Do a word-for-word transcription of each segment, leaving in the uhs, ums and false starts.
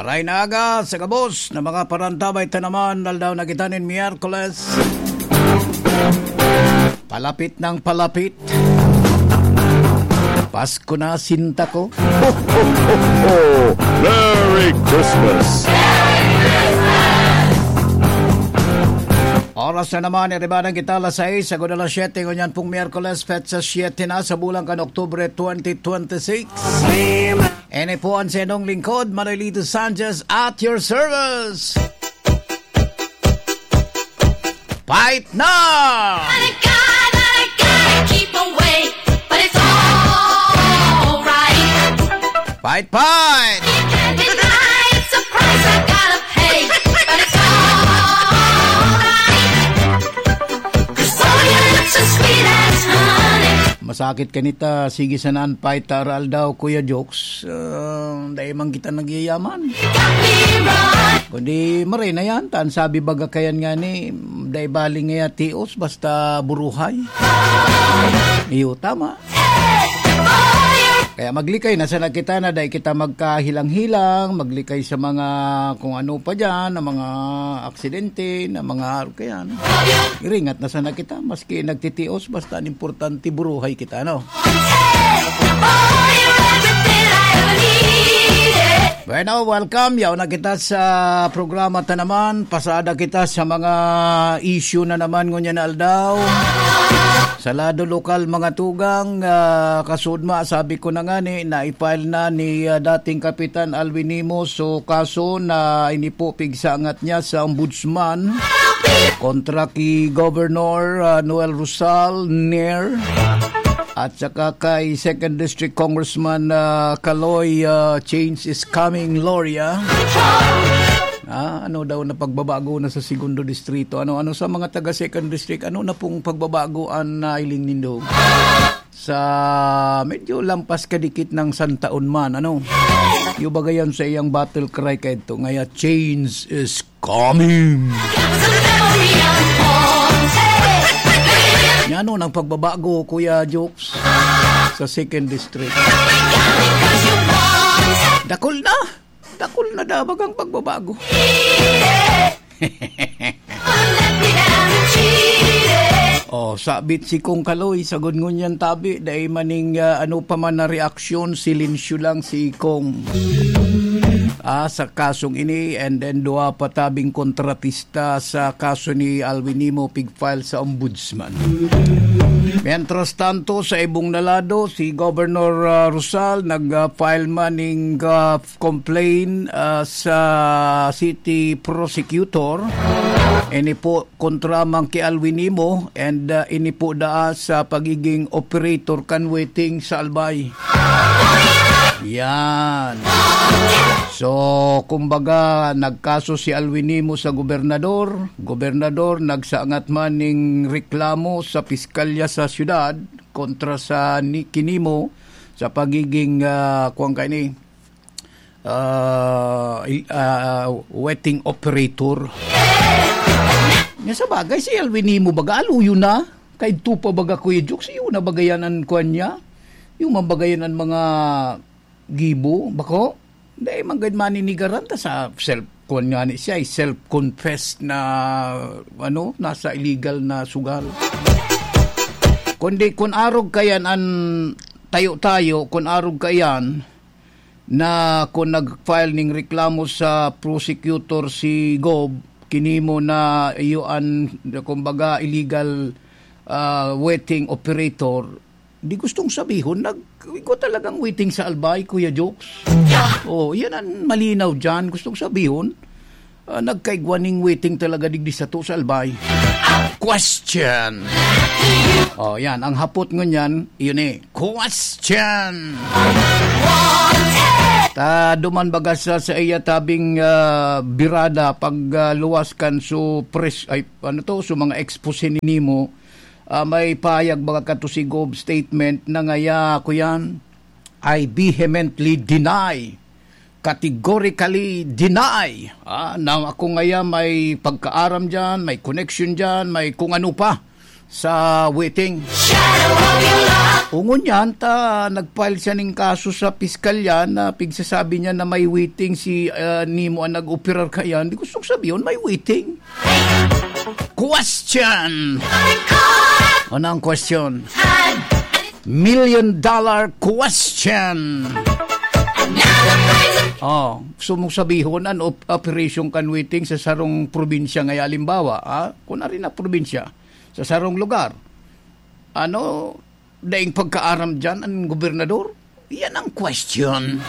Maray na aga sa gabos na mga parantabay ta naman, aldaw na kita nin Miyerkules. Palapit ng palapit. Pasko na, sinta ko. Ho, ho, ho, ho! Merry Christmas! Oras na naman, iribanan kita alas sais, sagod alas siyete, ngunyan pong Miyerkules, petsa siyete na sa bulan kan Oktubre twenty twenty-six. Ini po ang sa inyong lingkod, Manuelito Sanchez, at your service. Fight na! Not a guy, not a guy, keep away, but it's alright. Fight, fight! You can't deny it's a price I gotta pay, but it's alright. Cause all your looks are sweet as honey. Masakit kanita, sige sanan, fight ta aral daw, Kuya Jokes. Ah, dai man kita nagyayaman. Kundi maray na yan, ta an sabi baga kayan ngani, dai bali ngaya tios, basta buruhay. Iyo, tama. Kaya maglikay na sana kita na dai kita magkahilang-hilang, maglikay sa mga kung ano pa diyan, na mga aksidente, na mga kayan. Iringat na sana kita, maski nagtitios, basta an importante buruhay kita, no? Bueno, welcome. Yaon na kita sa programa ta naman. Pasada kita sa mga issue na naman ngunyan na aldaw. Sa lado lokal, mga tugang, ah, kasudma, sabi ko na nga ni, na i-file na ni, ah, dating Kapitan Alwin Nimo so kaso na ini po pigsangat niya sa ombudsman kontra ki Governor, ah, Noel Rosal, Nair, at saka kay Second District Congressman, ah, Kaloy, ah, "Change is coming, Gloria." Ah, ano daw na pagbabago na sa Segundo Distrito? Ano, ano sa mga taga Second District? Ano na pong pagbabago an nailing nindo? Sa medyo lampas kadikit ng santaon man, ano? Yung bagay yan sa iyang battle cry kaidto, ngaya, "Change is coming." Yan, ano, nang pagbabago, Kuya Jokes, sa Second District. Dakul na! Dakul na dabag ang pagbabago. Oh, sabit si Kong Kaloy, sagod ngunyan tabi, dai maning, ah, ano pa man na reaksyon, silensyo lang si Kong. Ah, sa kasong ini, and then duwa pa tabing kontratista sa kaso ni Alwin Nimo, pig-file sa ombudsman. Mientras tanto, sa ibong na lado, si Governor, ah, Rosal nag, ah, file man ning, ah, complaint, ah, sa city prosecutor. Ini po kontra man ki Alwin Nimo and, ah, ini po daa sa pagiging operator kan waiting sa Albay. Yan. So, kumbaga, nagkaso si Alwin Nimo sa gobernador. Gobernador, nagsangat man ning reklamo sa piskalya sa syudad kontra sa ni-, ki Nimo sa pagiging, ah, kuwan kaini, ah, i-, ah, waiting operator. Nga sa bagay, si Alwin Nimo baga, aluyo na. Kaidto pa baga, Kuya Jokes, iyo na baga yan an kuwan niya? Iyo man baga yan an mga gibo, bako? Dai man gad maninigaran ta sa self, kuwan nga ni siya, eh, self-confessed na, ano, nasa illegal na sugal. Kundi kun arog kayan an tayo-tayo, kun arog kayan, na kun nag-file ning reklamo sa prosecutor si Gob, ki Nimo na iyo an, kumbaga, illegal, ah, waiting operator, di gustong sabihon, nag-, igwa talagang waiting sa Albay, Kuya Jokes. Oh, yan ang malinaw dyan. Gustong sabihon, ah, nagkaigwa ning waiting talaga digdi sato sa Albay. Question. Oh, yan. Ang hapot ngunyan, yun eh. Question. Ta duman baga sa, sa iya tabing, ah, birada pag, ah, luwas kan su pres-, ay, ano to, su mga expose ni Nimo, ah, may pahayag baga kato si Gob statement na ngaya, kuyan, "I vehemently deny, categorically deny, ah, na ako ngaya may pagkaaram diyan, may connection diyan, may kung ano pa sa waiting." Shadow of your love. Ngunyan ta nag-file siya ning kaso sa piskalya na pigsasabi niya na may waiting si, ah, Nemo ang nag-operar kaiyan. Di gustong sabihon, may waiting. Question! Ano ang question? Million dollar question! Oh, gusto mong sabihon an op-, operation kan waiting sa sarong probinsya, ngaya halimbawa, ah, kung ari na probinsya, sa sarong lugar. Ano, daing pagkaaram diyan an gobernador? Yan ang question.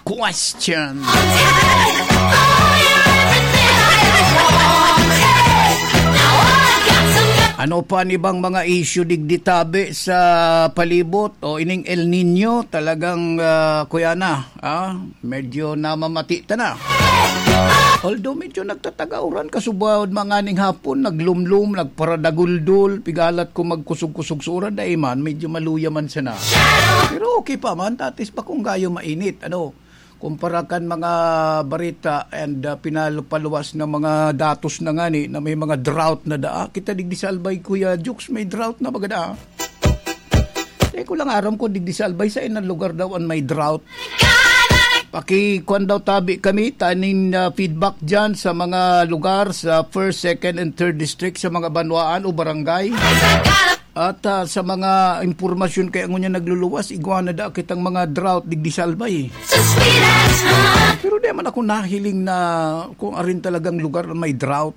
Question. Ano pa an ibang mga issue digdi tabi sa palibot? O ining El Niño, talagang, ah, kuya na, ah, medyo namamati ta na. Although medyo nagtataga uran, kasubahod manganing hapon, naglumlum, nagparadaguldol, pigalat ko magkusog-kusog sa uran, dai man, medyo maluya man sana. Pero okay pa man, tatis pa kung gayo mainit, ano, kumpara kan mga barita and, ah, pinal-, paluwas na mga datos na ngani na may mga drought na daa. Kita digdi sa Albay, Kuya Jukes, may drought na baga daa. Di ko lang aram kung digdi sa Albay, sa ilang lugar daw an may drought. Pakikuan daw tabi kami, taning, ah, feedback dyan sa mga lugar sa first, second, and third district sa mga banwaan o barangay. At, ah, sa mga impormasyon kaya ngunyan nagluluwas, igwa na da kitang mga drought digdi sa Albay. Pero di man ako nahiling na kung arin talagang lugar na may drought.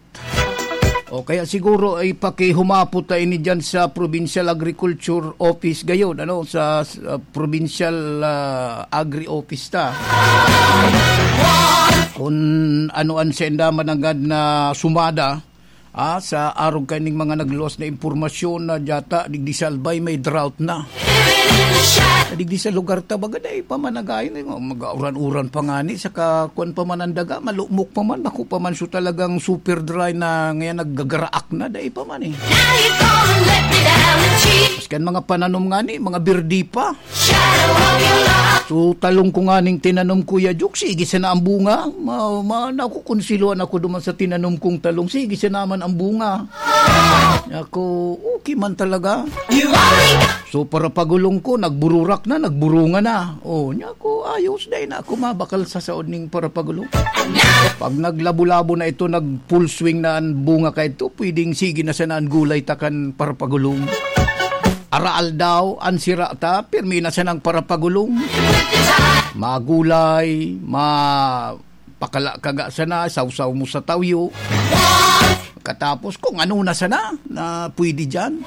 O kaya siguro ay pakihumapot ta ini diyan sa Provincial Agriculture Office gayon, ano, sa, sa Provincial, ah, Agri Office ta. Kung ano an senda mananggad na sumada, ah, sa arog kaning mga nagluwas na impormasyon na diyata, digdi sa Albay may drought na. Digdi sa lugar ta, baga, dai pa man nagayon, eh, mag-auran-uran pa ngani, saka kuwan pa man ang daga, malumok pa man, bako pa man, so talagang super dry na ngayon, naggagaraak na, dai pa man, eh. Maski ang mga pananom ngani, mga birdi pa. So, talong ko nganing tinanom, Kuya Jok, sige sana ang bunga. Ma-, ma-, nakukonsiluhan ako duman sa tinanom kong talong. Sige sana man ang bunga. Ako, okay man talaga. So, parapagulong ko, nagbururak na, nagburunga na. Oh, niya ako, ayos, dai na ako mabakal sa saod ning parapagulong. Pag naglabo-labo na ito, nag-full swing na ang bunga ka ito, pwedeng sige na sana ang gulay ta kan parapagulong. Araal daw, an sira ta, pirmi na sanang parapagulong. Magulay, ma-, pakala ka ga sana, sawsaw mo sa tawyo. Katapos, kung ano na sana, na pwede dyan.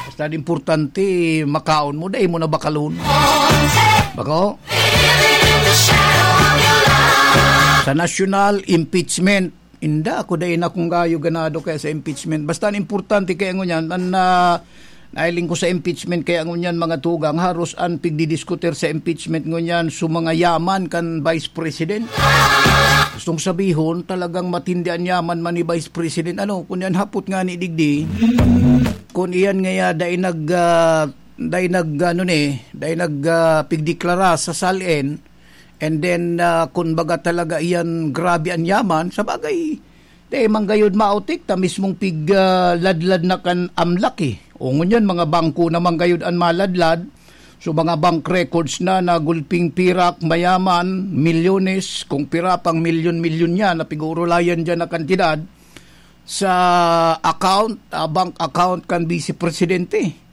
Basta importante, makaon mo, dai mo na bakalon. Bako? Sa national impeachment, Inda, ako dai na kung gayo ganado kaya sa impeachment. Basta an importante kaya ngunyan, an, ah, nahiling ko sa impeachment kaya ngunyan, mga tugang, haros an pigdidiskutir sa impeachment ngunyan, so mga yaman kan Vice President. Gustong sabihon, talagang matindi an yaman man ni Vice President. Ano, kun yan hapot nga ni digdi, kun iyan ngaya dai nag, ah, dai nag, ano ni, dai nag, ah, pigdeklara sa SALN, And then, ah, kun baga talaga iyan grabe an yaman, sa bagay, dai man gayud maotik ta mismong pig, ah, ladlad na kan amlak, eh. O ngunyan, mga bangko na man gayud an maladlad. So, mga bank records na, na gulping pirak, mayaman, milyones, kung pira pang milyon-milyon niya na pig-uurulayan diyan na kantidad sa account, ah, bank account kan Vice Presidente.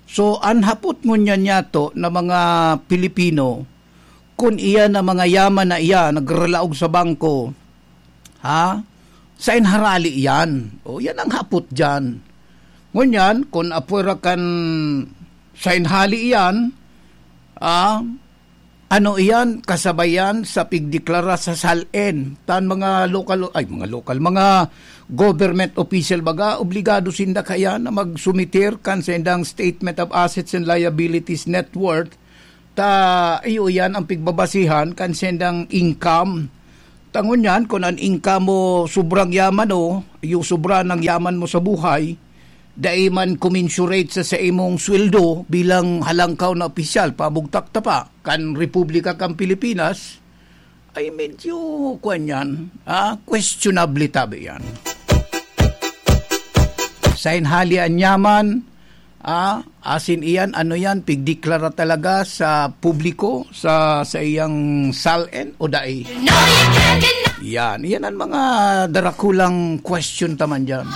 So, an hapot ngunyan niyato na mga Pilipino, kun iyan na mga yaman na iyan nagralaog sa bangko, ha? Sain harali iyan? O, yan ang hapot diyan. Ngunyan, kun apwera kan sain hali iyan, ah, ano iyan, kasabay yan sa pigdeklara sa SALN. Tan mga lokal, ay, mga lokal, mga government official baga, obligado sinda kaya na magsumiter kan sendang Statement of Assets and Liabilities Net Worth. Ta, iyo yan ang pigbabasihan kan sendang income. Tangon yan, kun an income mo sobrang yaman o, iyo sobra ng yaman mo sa buhay, dai man commensurate sa, sa imong sweldo bilang halangkaw na opisyal, pabugtak ta pa, kan Republika kan Pilipinas, ay medyo, kuwan yan, ah, questionable tabi yan. Sain hali an yaman, Ah, asin iyan, ano yan, pigdeklara talaga sa publiko, sa, sa iyang SALN o dai? Yan, yan ang mga darakulang question taman dyan.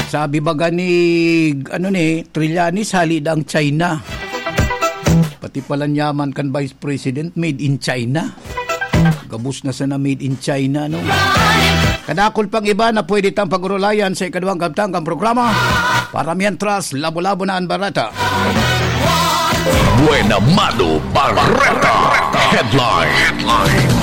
Sabi baga ni, ano ni, Trillanes, hali na ang China. Pati pala yaman kan Vice President, made in China. Gabos na sana made in China, no? Kadakol pang iba na pwede tang pag-urulayan sa ikaduhang kabtang kan programa. Para mientras, labo-labo na ang barata. Buena Mano Barata. Headline.